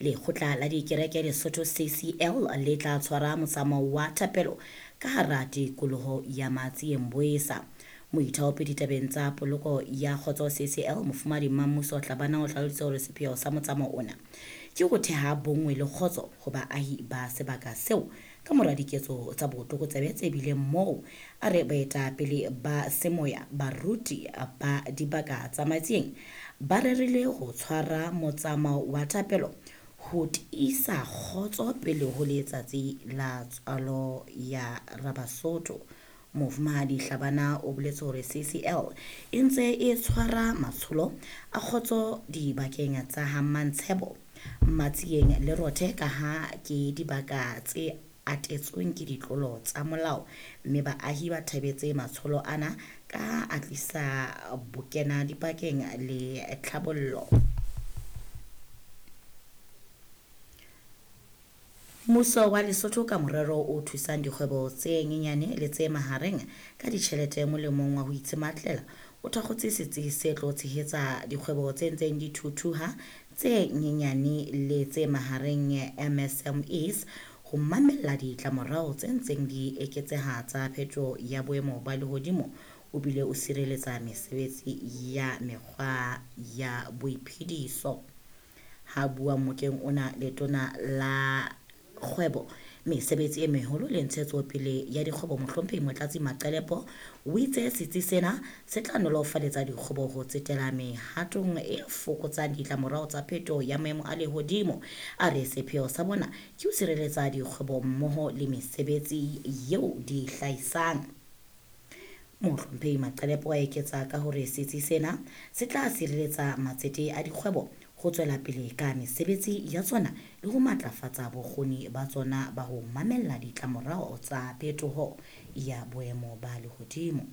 Lekgotla la Dikereke Lesotho CCL le tla tshwara motsamao wa thapelo ka hara tikoloho ya Matsieng Boesa. Moithaopi ditabeng tsa poloko ya kgotso CCL Mofumahadi Mammuso Hlabana o hlalositse hore sepheo sa motsamao ona ke ho theha bonngwe le kgotso ho baahi ba sebaka seo ka mora diketso tsa botlokotsebe tse bileng moo. A re baetapele ba semoya, baruti ba dibaka tsa Matsieng ba rerile ho tshwara motsamao wa thapelo ho tiisa kgotso pele ho letsatsi la tswalo ya Rabasotho. Mofumahadi Hlabana o boletse hore CCL e ntse e tshwara matsholo a kgotso dibakeng tsa ha Mantshebo, Matsieng le Rothe kaha ke dibaka tse atetsweng ke ditlolo tsa molao, mme baahi ba thabetse matsholo ana ka a tlisa bokena dipakeng le tlhabollo. Mmuso wa Lesotho ka morero o thusang dikgwebo tse nyenyane le tse mahareng ka ditjhelete molemong wa ho itshematlela o thakgotse setsi se tlo tshehetsa dikgwebo tse ntseng di thuthuha tse nyenyane le tse mahareng MSMEs ho mamella ditlamorao tse ntseng di eketseha tsa phetoho ya boemo ba lehodimo o bile o sireletsa mesebetsi ya mekgwa ya boiphediso. Ha bua mokeng ona letona la kgwebo mesebetsi e meholo le ntshetsopele ya dikgwebo mohlomphehi Motlatsi Maqelepo o itse setsi sena se tla nolofaletsa dikgwebo ho tsetela mehatong e fokotsang ditlamorao tsa phetoho ya maemo a lehodimo. A re sepheo sa bona ke ho sireletsa dikgwebo mmoho le mesebetsi eo di hlahisang. Mohlomphehi Maqelepo a eketsa ka hore setsi sena se tla sireletsa matsete a dikgwebo ho tswela pele ka mesebetsi ya tsona le ho matlafatsa bokgoni ba tsona ba ho mamella ditlamorao tsa phetoho ya boemo ba lehodimo.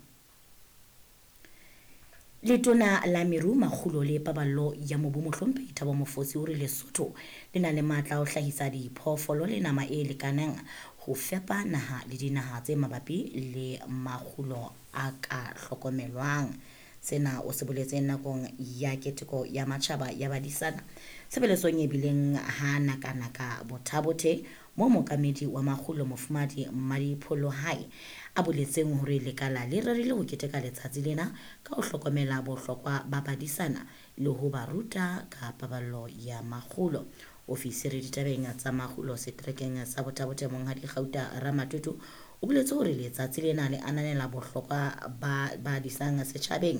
Letona la Meru, Makgulo le Paballo ya Mobu Mohlomphehi Thabo Mofosi o re Lesotho le na le matla a ho hlahisa diphoofolo le nama e lekaneng ho fepa naha le dinaha tse mabapi le makgulo a ka hlokomelwang. Sena o se boletse nakong ya keteko ya matjhaba ya badisana tshebeletsong e bileng ha nakanaka Bothabothe moo mookamedi wa makgulo Mofumahadi Mmadipholohai a boletseng hore lekala le rerile ho keteka letsatsi lena ka ho hlokomela bohlokwa ba badisana le ho ba ruta ka paballo ya makgulo. Ofisiri ditabeng tsa makgulo seterekeng sa Bothabothe Monghadi Gauta Ramatutu o boletse hore letsatsi lena le ananela bohlokwa ba badisang setjhabeng.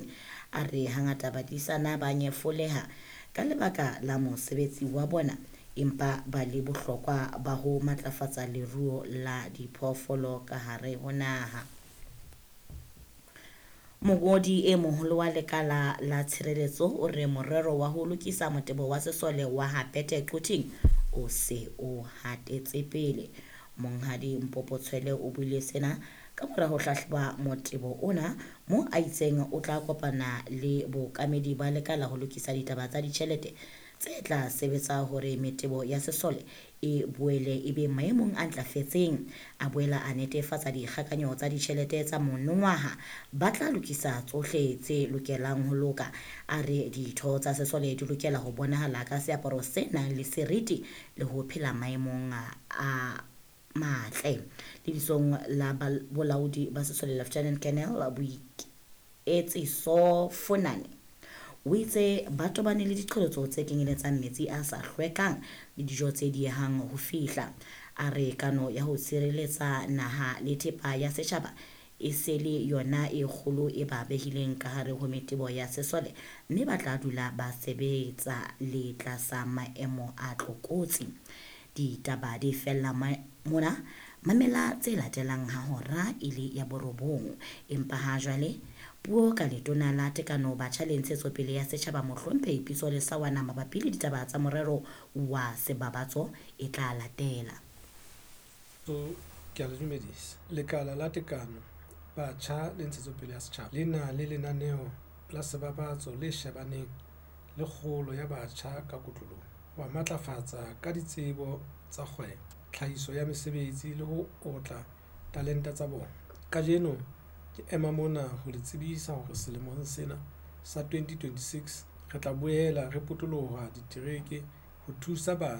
A re hangata badisana ba nyefoleha ka lebaka la mosebetsi wa bona empa ba le bohlokwa ba ho matlafatsa leruo la diphoofolo ka hare ho naha. Mongodi e moholo wa lekala la tshireletso o re morero wa ho lokisa motebo wa sesole wa ha Pete Quthing o se o hatetse pele. Monghadi Mpopo Tshwele o buile sena ka mora ho hlahloba motebo ona mo a itseng o tla kopana le bookamedi ba lekala ho lokisa ditaba tsa ditjhelete tse tla sebetsa hore metebo ya sesole e boele e be maemong a ntlafetseng. A boela a netefatsa dikgakanyo tsa ditjhelete tsa monongwaha ba tla lokisa tsohle tse lokelang ho loka. A re ditho tsa sesole di lokela ho bonahala ka seaparo se nang le seriti le ho phela maemong a matle. Lebitsong la bolaodi ba sesole Lieutenant Colonel Boiketsiso Funane o itse ba tobane le diqholotso tse kenyeletsang metsi a sa hlwekang le dijo tse diehang ho fihla. A re kano ya ho sireletsa naha le thepa ya setjhaba e se le yona e kgolo e ba behileng ka hare ho metebo ya sesole mme ba tla dula ba sebetsa le tlasa maemo a tlokotsi. Ditaba di fella mona, mamela tse latelang ha hora e le ya 9. Empa ha jwale puo ka letona la tekano batjha le ntshetsopele ya setjhaba Mohlomphehi Pitso Lesawana mabapi le ditaba tsa morero wa sebabatso e tla latela. Ke a le dumedisa. Lekala la tekano batjha le ntshetsopele ya setjhaba le na le lenaneo la sebabatso le shebaneng le kgolo ya batjha ka kotloloho, ho ba matlafatsa ka ditsebo tsa kgwebo, tlhahiso ya mesebetsi le ho otla talente tsa bona. Kajeno ke ema mona ho le tsebisa hore selemong sena sa 2026 re tla boela re potoloha ditereke ho thusa batjha.